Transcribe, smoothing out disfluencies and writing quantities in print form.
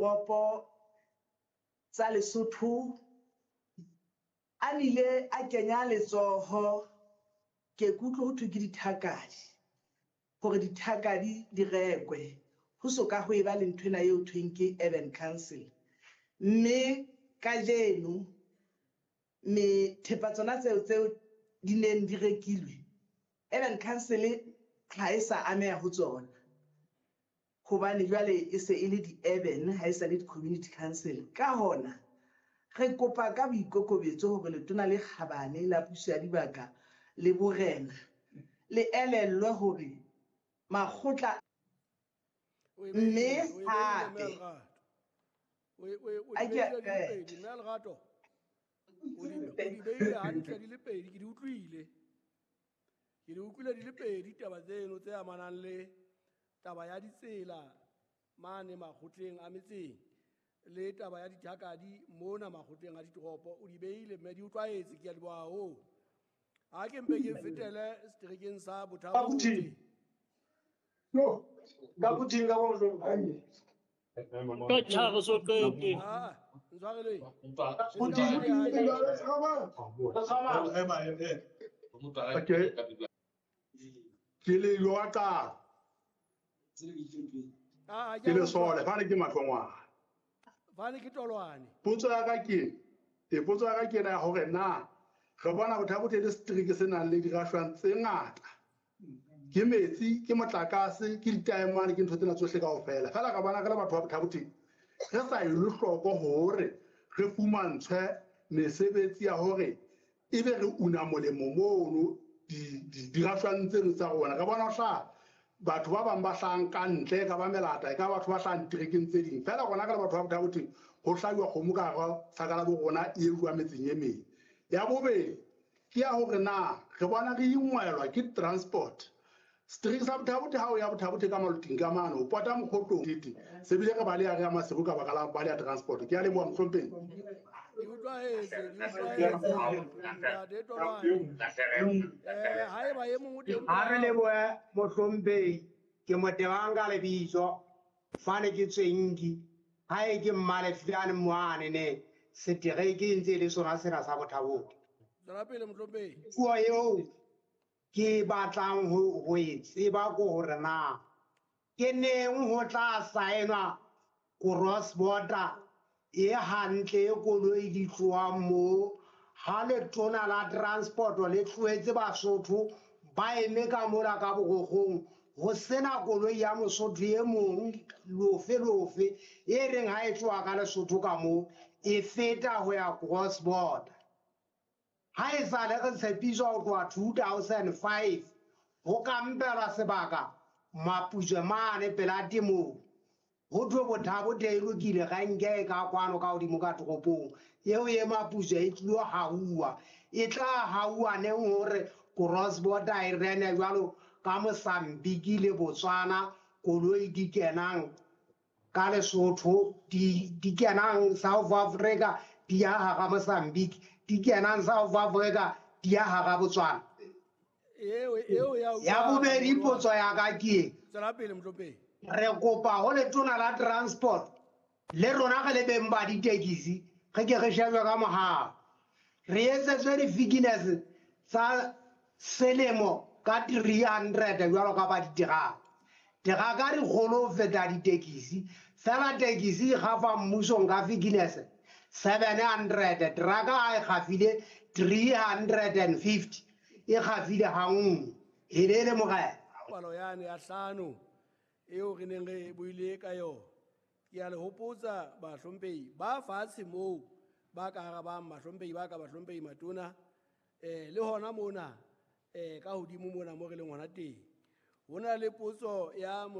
Toropo tsa Lesotho a nile a kenya letsoho, ke kutlwe ho thwe ke dithakadi, hore dithakadi di rekwe, ho so ka ho eba le nthwena eo thweng ke Urban Council. Mme kajeno me thepa tsona tseo tseo di neng di rekilwe, Urban Council ha e sa ameha ho tsona, hobane jwale e se e le di-urban, ha e sa le di-community council. Ka hona re kopa ka boikokobetso hore letona le kgabane la puso ya dibaka le borena le elellwe hore makgotla O e mme beile, o e beile, hape Mme Lerato. O A di ke beile di le eh. pedi, Mme Lerato. O di beile hantle di le pedi, ke di utlwile. Ke di utlwile di le pedi taba tseno tse amanang le taba ya ditsela mane makgotleng a metseng le taba ya dithakadi mona makgotleng a ditoropo. O di beile mme di utlwahetse, ke a leboha haholo. Ha ke mpe ke fetele seterekeng sa Botha-Bothe. No, ka puting ka bo Ka tjhare so qete. Ah, ntshwareleng. Puting. Okay. Ke le yo ka Ah, ke le sole fane ke mahlongwana. Fane ke tolwane. Potso ya ka ke e potso ya ka ke ena ya hore na re bona Botha-Bothe le setereke se nang le dirashwang tse ngata. Ke metsi, ke motlakase, ke ditaemane, ke ntho tsena tsohle kaofela. Feela ka bona re le batho ba Botha-Bothe re sa elwe hloko hore re fumantshwe mesebetsi ya hore ebe re una molemo mono dirashwang tseno tsa rona. Re bona ho hlaha batho ba bang ba hlahang ka ntle, e ka ba melata, e ka batho ba hlahang diterekeng tse ding. Feela rona re le batho ba Botha-Bothe ho hlajuwa kgomo ka hara saka la bo rona e ejuwa metseng e meng. Ya bobedi ke ya hore na re bona re ingwelwa ke transport. Setereke sa Botha-Bothe ha o ya Botha-Bothe ka Maloting ka mane, o pota Mokgotlong tete. Se bile re baleha re ya Maseru ka baka la baleha transport. Ke a leboha mohlomphehi. Di utlwahetse, di utlwahetse. Ntate Tolwane. Haeba e mong o teng Ha re lebohe mohlomphehi, ke Motebang ka lebitso, fane ke Tswenki, hae ke Mmalefilane moane ne, setereke e ntse e le sona sena sa Botha-Bothe. Tswela pele mohlomphehi. Puo eo ke batlang ho e tseba ke hore na ke neng ho tla saenwa cross border e hantle e koloi di tlohang moo, ha letona la transport le tlohetse Basotho ba eme ka mola ka borokgong, ho sena koloi ya Mosotho e mong lofe lofe e reng ha e tloha ka Lesotho ka moo e feta ho ya cross border. Ha e sale re tshepiswa ho tloha 2005 ho kampelwa sebaka Maputswe mane pela temong, ho thwe Botha-Bothe e lokile renke e ka kwano ka hodimo ka toropong eo e Maputswe e tlilo hauwa, e tla hauwa neng hore cross border e rene jwalo ka Mozambique le Botswana, koloi di kenang ka Lesotho, di kenang South Africa di ya hara Mozambique, di kenang South Africa di ya hara Botswana. Eo, eo ya Ya bobedi potso ya ka ke e. Tswela pele mohlomphehi. Re kopa ho letona la transport le rona re le beng ba ditekisi re ke re shejwe ka mohau, re etsetswe di-fitness tsa selemo ka 300 jwalo ka ba diteraka. Teraka di kgolo ho feta ditekisi, fela tekisi e kgafa mmusong ka fitness 700, teraka ha e kgafile 350, e kgafile ha nngwe. Helele morena. Palo yane ya hlano eo re neng re buile ka yona. Ke a le hopotsa bahlomphehi ba fatshe moo ba ka arabang, bahlomphehi ba ka, bahlomphehi matona, le hona mona, ka hodimo mona mo re leng hona teng. Ho na le potso ya